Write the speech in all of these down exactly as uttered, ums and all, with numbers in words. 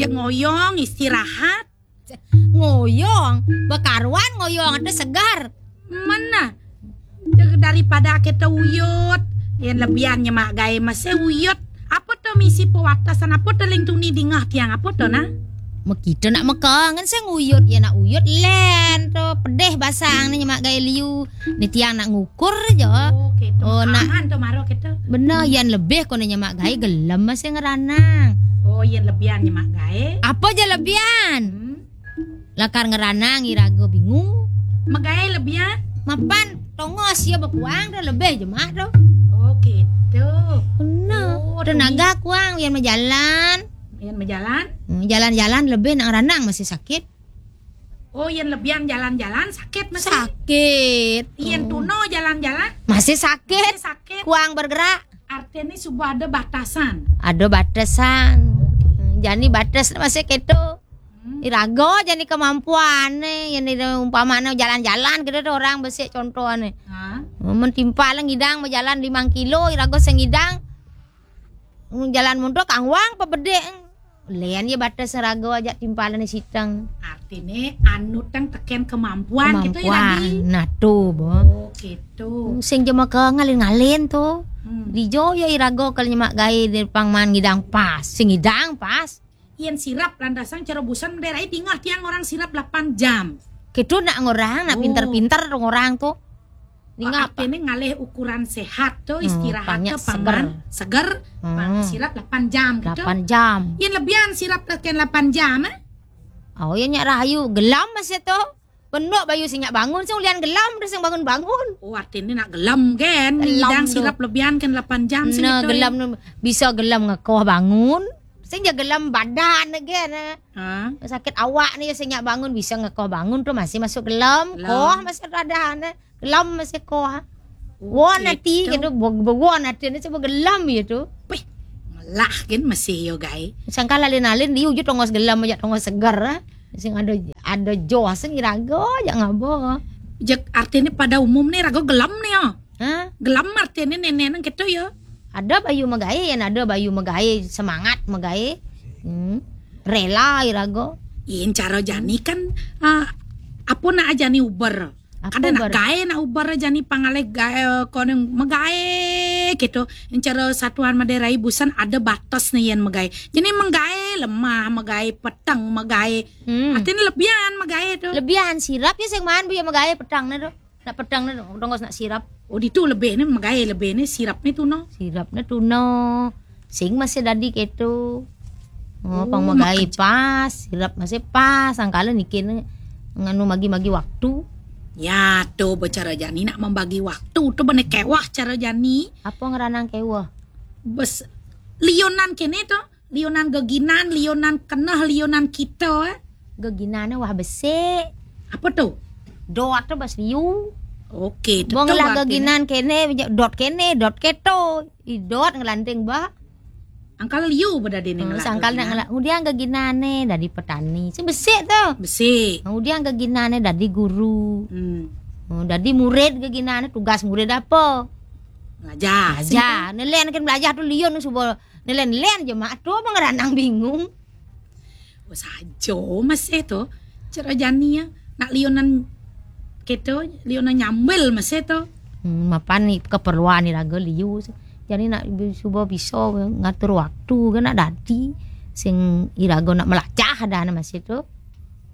Ngoyong, istirahat. Ngoyong, bakaruan ngoyong ate segar. Mana? Daripada kita uyut, yang lebihan nyemak gaé masih uyut. Apa to misi pewatasan apa to ling tuni dingah tiang apa to nah? Mekita nak mekangen sing uyut ya nak uyut len to pedih basang ni nyemak gaé liu. Ni tiang nak ngukur je. Oh, gitu. Oh, nak aman to maro kita. Bener, yan lebih kono nyemak gaé gelem masih ngeranang. Oh, yan lebihan nyemak gaé. Apa je lebihan? Hmm. Lakar ngeranang iraga bingung. Megaé lebihan? Mapan tongos ya bekuang dah lebih jemak tu. Oh, gitu. Bener. Oh, tenaga kuang yan majalan. Yan majalan? Hmm, jalan-jalan lebih nak ngeranang masih sakit. Oh, yan lebihan jalan-jalan sakit masih. Sakit. Yan tuno jalan-jalan masih sakit. Masih sakit. Kuang bergerak. Artinya suba ada batasan. Ada batasan. Hmm, jani batas masih keto. Hmm. Iraga jani kemampuan nih, yang umpamane jalan-jalan gitu tuh orang besik contohnya. Ha? Mun timpal ngidang berjalan lima kilo, iraga sing ngidang. Hmm, jalan mundur kangwang apa bedek. Len ya batas raga aja timpalane siteng. Artine anu teng teken kemampuan gitu ya, kemampuan. Nah, tuh, Bo. Oh, gitu. Sing jema ke ngalin-ngalin tuh. Hmm. Dijo ya iraga kalau nyemak gaé di pangman ngidang pas. Sing ngidang pas. Yen sirap landasan cara busan daerah tingah tiang orang sirap delapan jam. Gitu nak ngorang, nak pinter-pinter orang tuh. Ningah apa? Ini ngalih ukuran sehat tuh, hmm, istirahat tuh seger. Seger, hmm, pang sirap delapan jam gitu. Delapan jam. Yen lebihan sirap tekan delapan jam, eh? Oh, ya nyak rahayu, gelam masih tuh. Pendok bayu sing nyak bangun, sing ulian gelam, terus sing bangun-bangun. Oh, artinya nak gelam kan? Gelam ngidang tuh. Sirap lebihan kan delapan jam sing nah, gitu, gelam ya? Tuh bisa gelam ngekoh bangun. Sing ja gelam badan kan, eh. Ha? Sakit awak nih sing nyak bangun bisa ngekoh bangun tuh masih masuk gelam, gelam. Koh masih ada, eh. Gelem masih koh. Oh, won gitu. Ati gitu, won ati ini coba gelem gitu. Pih, melah kan masih yo gaé. Sangka lalin-lalin di ujung tongos gelem aja tongos seger, eh. Sing ada ada joh sing iraga aja ngabo. Jek artinya pada umum nih raga gelem nih ya. Hah? Gelem artinya nenek nang gitu ya. Ada bayu megaé, yang ada bayu megaé, semangat megaé. Hmm. Rela iraga. Yen cara jani kan, ah, apa nak jani uber? Apa kada nak uber? Gaé nak uber jani pangalih gaé, eh, koneng megaé gitu. Encara satuan Madé Rai busan ada batas nih yen megaé. Jani megaé lemah, megaé peteng, megaé. Hmm. Artinya lebihan megaé tuh. Lebihan sirap ya sing maan bu ya megaé peteng nih tuh. Nak peteng nih tuh, dongos nak sirap. Oh, ditu lebih nih megaé lebih nih sirap nih tuh no. Sirap nih tuh no. Sing masih dadi keto. Oh, oh, pang megai pas, sirap masih pas, sangkala niki ne-, nganu magi-magi waktu. Ya, tuh bicara jani nak membagi waktu, tuh bener kewah cara jani. Apa ngeranang kewah? Bes, lionan kene tuh, lionan geginan, lionan keneh, lionan kita, eh. Geginane wah besik. Apa tuh? Dot tuh bas liu. Oke, tuh. Bong lah geginan kene, dot kene, dot keto. Idot ngelanting ba. Angkal liu bedadine. Hmm, ngelak sangkal nak geginan. Ngelak. Kemudian geginane dadi petani. Sing besik tuh. Besik. Kemudian geginane dadi guru. Hmm. Hmm, dadi murid geginane tugas murid apa? Ngajar. Ngajar. Nelen kan belajar tuh liun suba nelen-len je mak tuh apa ngeranang bingung. Oh, saja masih tuh. Cara jani ya. Nak lionan keto, lionan nyambil masih tuh. Hmm, mapan ni keperluan iraga liu. Jadi nak bi-, suba bisa ngatur waktu kan nak dadi. Sing iraga nak melacah dah masih tuh.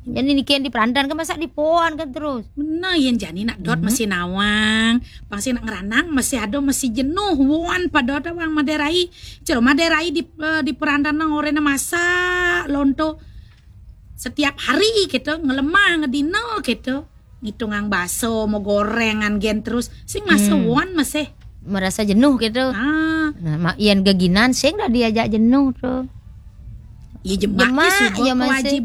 Jadi niki yang diperantan kan masa dipoan kan terus. Bener, yang jani nak dot masih nawang, pasti nak ngeranang masih ada masih jenuh, wan pada ada wang Madé Rai. Cara Madé Rai di, eh, diperantan nang orena masa lonto setiap hari gitu, ngelemah, ngedino gitu. Ngitungang baso, mau gorengan gen terus. Sing masa hmm. Wan masih. Merasa jenuh gitu. Ah. Nah, mak ian geginan sing dah diajak jenuh tuh. Ya jemak, jemak ya, ya masih.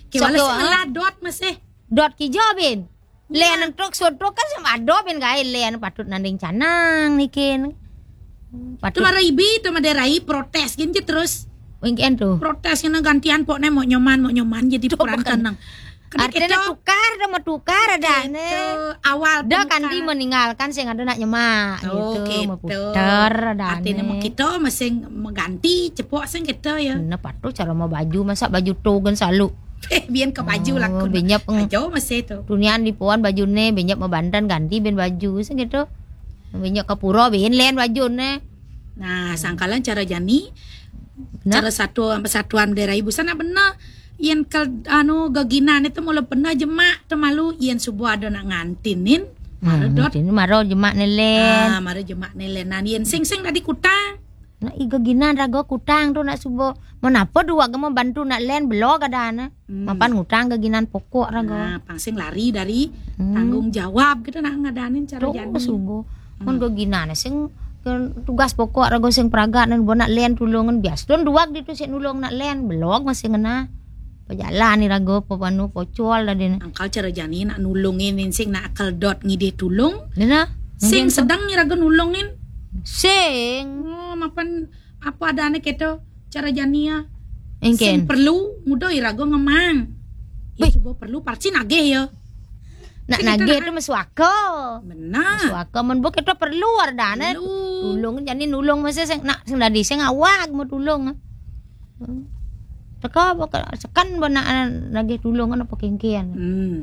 Kewala sok sing ngeladot masih. Dot kijo bin. Len truk sotruk kan sama ado bin gaé len patut nanding canang nikin. Patut. Tuh mara ibi tuh Madé Rai protes gin je terus. Wingken tuh. Protes kena gantian pokne mau nyoman, mau nyoman jadi tuh peran bukan. Tenang. Artinya tukar dah, mau tukar ada nih. Awal dah kan dia meninggalkan sing ada nak nyemak gitu, mau putar ada nih. Artinya mau kita masing mengganti cepok sing kita ya. Nah, patuh cara mau baju, masa baju tu kan selalu. Biar ke baju lah. Benyap jauh masih tu. Tunian di puan baju nih, benyap mau bandan ganti ben baju sing gitu. Benyap ke pura ben len baju nih. Nah, sangkalan cara jani, cara satu sama satuan daerah ibu sana benar. Yen kal anu geginan itu mula benar jemak tu malu yen subuh ada nak ngantinin. Mara dot. Ini mara jemak nelen. Ah, mara jemak nelen. Nah, yen sing-sing tadi kutang. Nah, i geginan raga kutang tu nak subuh. Menapa dua gema bantu nak len belok ada ana. Mapan ngutang geginan pokok raga. Nah, pangsing lari dari tanggung jawab gitu nak ngadanin cara jani. Subuh. Mun geginan sing tugas pokok raga sing pragat nan buat nak len tulungan bias. Tun duak ditu sik nulung nak len belok masih ngena. Pejalan ni raga apa panu pocol dah dia. Angkal cara jani nak nulungin sing nak akal dot ngidih tulung. Nena. Sing sedang ni raga nulungin. Sing. Oh, mapan apa ada anak keto cara jani ya. Engken. Sing perlu muda iraga ngemang. Ya cuba perlu parsi nagih ya. Nak nagih tu mesuaka. Benar. Mesuaka men buk itu perlu ardane. Tulung jani nulung mesti sing nak sing dadi sing awak mau tulung. Teka baka sekan bana nagih tulung apa kengkian. Hmm.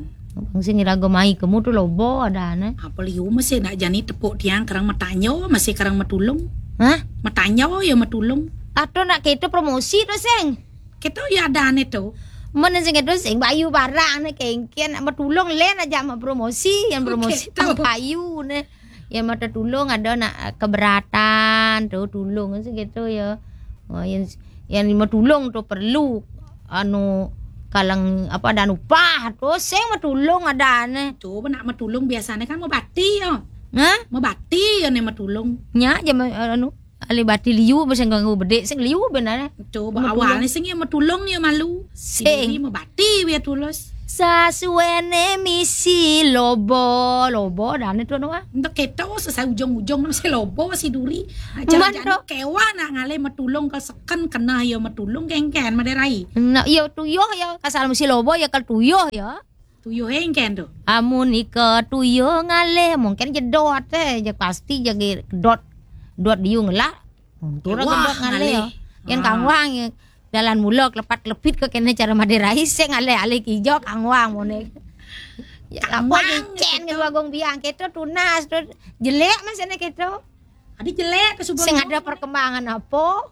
Bang sing iraga mai kemu tu lobo adane. Apa liu mesti nak jani tepuk tiang kerang matanyo masih kerang matulung. Hah? Matanyo ya matulung. Atau nak kita promosi tu sing. Kita ya adane tu. Mana sing itu sing bayu barang ne kengkian nak matulung len aja ma promosi yang promosi bayu ne. Yang mata tulung ada nak keberatan tu tulung sing gitu ya. Oh, yang yang matulung tu perlu anu kalang apa dan upah tu sing matulung ada ne. Tu nak matulung biasanya kan mabati ya. Hah? Mabati ya ne matulung. Nya je anu ahli bati liu sing ganggu bedik sing liu benar. Tu awalnya sing ya matulung ya malu. Sing mabati ya tulus. Sasuene misi lobo lobo dan itu nuah. Untuk kita sesai ujung-ujung masih lobo masih duri. Aja kewa nak ngalih matulung ke kan kena ya matulung kengken maderai. Nak ya tuyuh ya kasal mesti lobo ya kal tuyuh ya. Tuyuh engken tu. Amun ika tuyuh ngalih mungkin jedot eh je pasti je dot dot diu ngelak. Untuk gedot ngalih ya. Yang kangwang ya. Dalan mula kelepat kelepit ke kena cara maderai sing ngalih alih kijo kangwang mone. Ya apa cen ke agung biang kita tunas tu jelek masih kita. Adi jelek ke subuh. Sing ada perkembangan apa?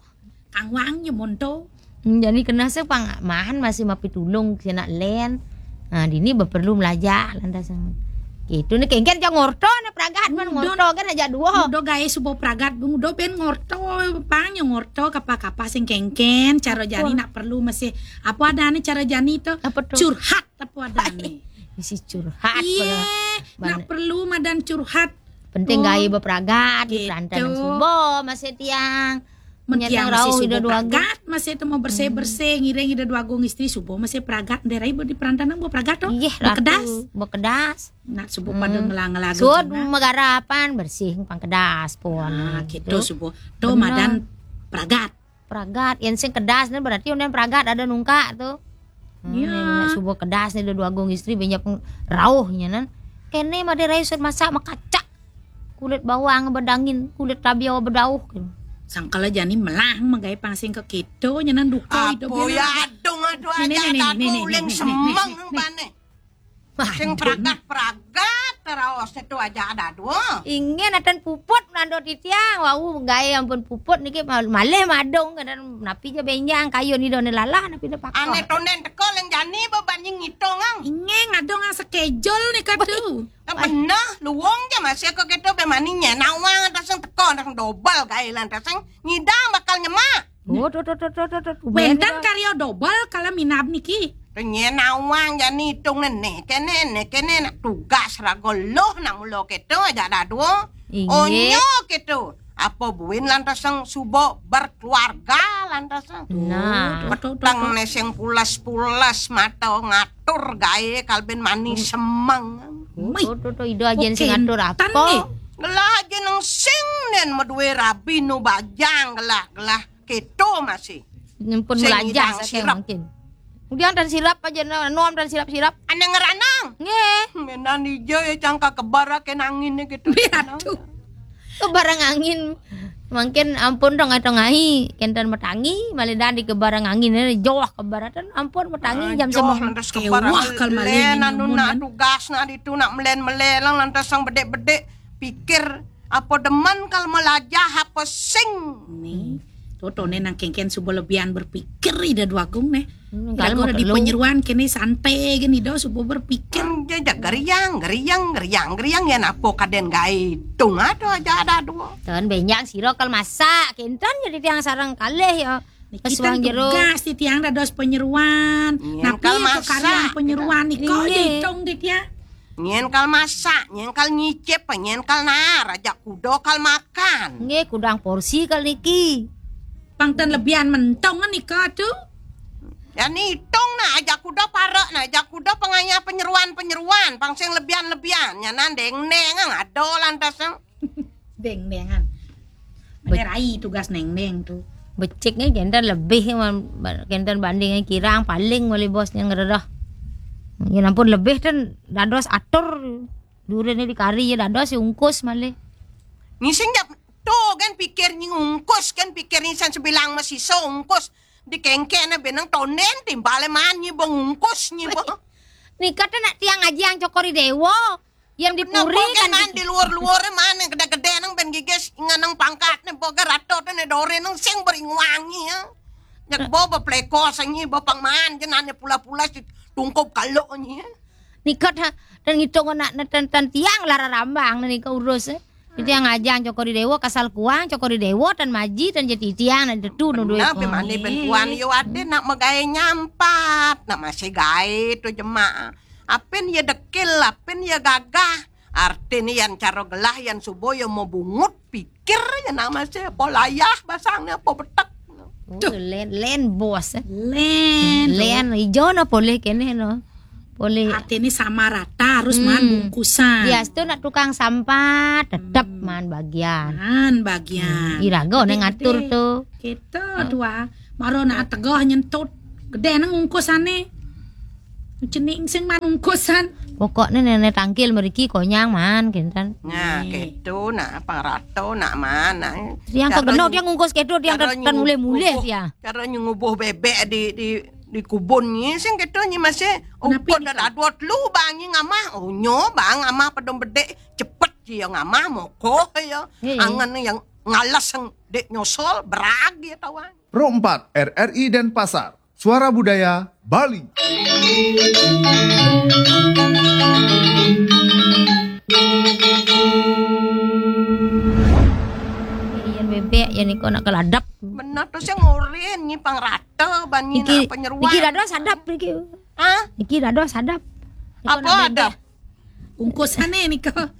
Kangwang je monto. Hmm, jadi kena se pang mahan masih mapi tulung kena len. Nah, dini perlu melajah lantas. Gitu ni kengken je ngorto ni pragat man ngorto kan aja dua. Udah gawe subuh pragat udah ben ngorto pang je ngorto kapa-kapa sing kengken cara jani nak perlu masih apa ada ni cara jani tu? Apa tu? Curhat apa ada ni? Mesti curhat. Iya, nak perlu madan curhat. Penting gawe bepragat di perantanan subuh masih tiang. Menyetang rau ida dua pragat masih temu bersih-bersih ngiring ida dua agung istri subuh masih pragat nderai di perantanan buah pragat tu. Iya, bekedas. Bekedas. Nak subuh pada ngelang-ngelang. Suud megarapan bersih pangkedas pun. Nah, gitu subuh. Tu madan pragat. Pragat, yang sing kedas ni berarti unden pragat ada nungkak tu. Hmm, ya. Subuh kedas ni dua agung istri banyak rauhnya nan. Kene made rai sud masak makacak. Kulit bawang bedangin, kulit tabiau bedauh. Sangkala jani melah magawe pangsing ke keto nyenan duka hidup. Apa ya adung aduh aja aku uling semeng bane. Sing pragat-pragat raos itu aja ada dua. Ingin atan puput nando titiang, wau gawe ampun puput niki malih madung kan napi je benjang kayu ni done lalah napi ne pakon. Ane tonden teko len jani beban ngitung ang. Ingin ngadung ang schedule ni kadu. Bener, luwung je masih ke kita be mani nye nawang atas yang teko atas yang dobel gawe lan atas yang ngidang bakal nyemak. Oh, tu tu tu tu tu tu. Wenten karya dobel kala minab niki. Penyen awang jani itung nene kene ne kene nak tugas raga loh nak mula keto aja dadu. Inggih. Onyo keto. Apa buin lantas yang subo berkeluarga lantas yang. Nah. Petang ne sing pulas-pulas mata ngatur gawe kalben mani semeng. Tu tu tu ida ajen sing ngatur apa? Gelah ajen nang sing nen medue rabi nu bajang gelah gelah. Keto masih. Nyempun melajah saking mungkin. Udiang tan sirap aja, no, nom tan sirap-sirap. Ane ngeranang. Nggih. Menan ijo ya cangka kebar ake nangin gitu. Iya, tuh. Kebarang angin. Mangkin ampun dong atau ngai, kenten metangi, malidan di kebarang angin, eh, joh kebaratan, ampun metangi. Ah, jam joh, sembilan. Lantas kebar. Kewah kal malen len anu nyumun, nak kan? Tugas nak ditu nak melen-melen, lantas sang bedek-bedek pikir apa demen kal melajah apa sing. Nih. Tuh, tone nang kengken suba lebihan berpikir ida duagung neh. Hmm, kira-kira di penyeruan kene santai gini do suba berpikir. Hmm, jajak geriang, geriang, geriang, geriang ya napo kaden gae tung ado aja ada dua. Ten benjang siro kal masak, kenten jadi tiang sarang kalih ya. Niki kesuang ten jero. Tugas di tiang dados penyeruan. Yen napi kal ke masak, karya penyeruan kita. Nika. Iya. Ditung di tiang. Yen kal masak, yen kal nyicip, yen kal naar, aja kuda kal makan. Nggih, kudang porsi kal niki. Pang ten lebihan mentong nika tuh. Ya nitung nah, aja kuda parek nah, aja kuda pengaya penyeruan-penyeruan, pang sing lebihan-lebihan. Nyanan deng-deng ngado lantas. Deng-dengan. Be- Mane rai tugas neng-neng tuh. Beciknya kenten lebih man, kenten bandingnya kirang paling wali bosnya ngeredah. Ya ampun lebih ten dados atur durene di kari ya dados ya ungkus malih. Ngising jap tuh kan pikir nying ungkus kan pikir nyisan sebilang masih ungkus di kengkene benang tonden timbale man nyi bengungkus nyi beng. Nika ten nak tiang aji yang cokori dewa. Yang di puri kan di luar-luar mana gede-gede nang ben gigis nganang pangkat nih boga rato nih dore nang sing beringuangi ya. Nyak bo bepleko sangi bo pangman jenane pula-pula si tungkup kalau nyi. Nikot ha dan ngitung anak neten tan tiang lara rambang nih ke urus eh. Jadi yang ajang cokori dewa kasal kuang cokori dewa dan maji dan jadi tiang dan tetu nundui. Nah, pemane ben kuan yo ade nak megawe nyampat, nak masih gawe tu jemaah. Apen ya dekil, apen ya gagah. Artine yan cara gelah yan suba ya mau bungut pikir ya nak masih apa layah basangnya apa betek. Tuh. Len len bos. Len. Len ijo no boleh kene no. Boleh. Artine sama rata harus hmm. Man bungkusan. Ya, itu nak tukang sampah tetap hmm. Man bagian. Man bagian. Hmm. Iraga ne ngatur tuh. Kita hmm. Tua. Maro nak tegah nyentut. Gede nang ungkusane. Cening sing man ungkusan. Pokoknya nenek tangkil meriki konyang man kinten. Nah, gitu nah pang rato nak man. Nah. Yang kegeno dia ngungkus kedo dia kan mulai-mulai dia. Cara nyubuh bebek di di di kubun nyi sing kedo nyi masih ukut dan adot lu bang nyi ngamah. Oh nyo bang ngamah pedom bedek cepet dia ngamah moko ya. Angen yang ngalas yang dek nyosol berag dia tawang. Pro empat R R I Denpasar. Suara Budaya Bali. Yen bebek yen iko nak keladap. Bener tuh sing ngorin nyi pang rata ban nyi nak penyeruan. Iki dados adap iki. Hah? Iki dados adap. Apa adap? Ungkusane nika.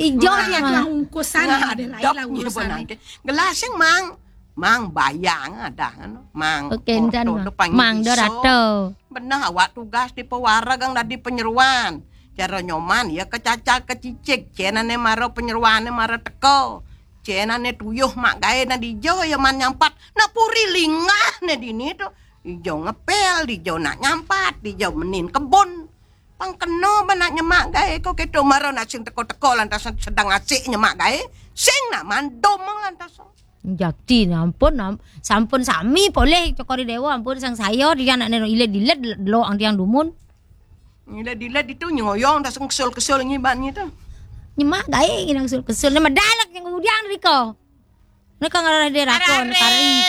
Ijo dia mah ungkusane ada lain lah ungkusane. Gelasing mang. Mang bayang ada kan. Mang. Oke, entan, Mang. Mang Dorato. Bener awak tugas di pewareg yang dadi penyeruan. Cara nyoman ya kecacal kecicik. Cenane maro penyeruane maro teko. Cenane tuyuh mak gawe na dijo ya man nyampat. Nak puri lingah ne dini tu. Dijo ngepel, dijo nak nyampat, dijo menin kebun. Pang keno benak nyemak gae ko keto maro nak sing teko-teko lantas sedang asik nyemak gae sing nak mandom lantas. Jakti ampun am, sampun sami poleh cokori dewa ampun sang saya dia nak nero iled-iled lo ang tiang dumun. Iled-iled itu nyoyong dah sing kesel-kesel ngiban gitu. Nyemak gae ngidang kesel-kesel nama dalek yang udiang riko. Neka ngarah dia rakon kari.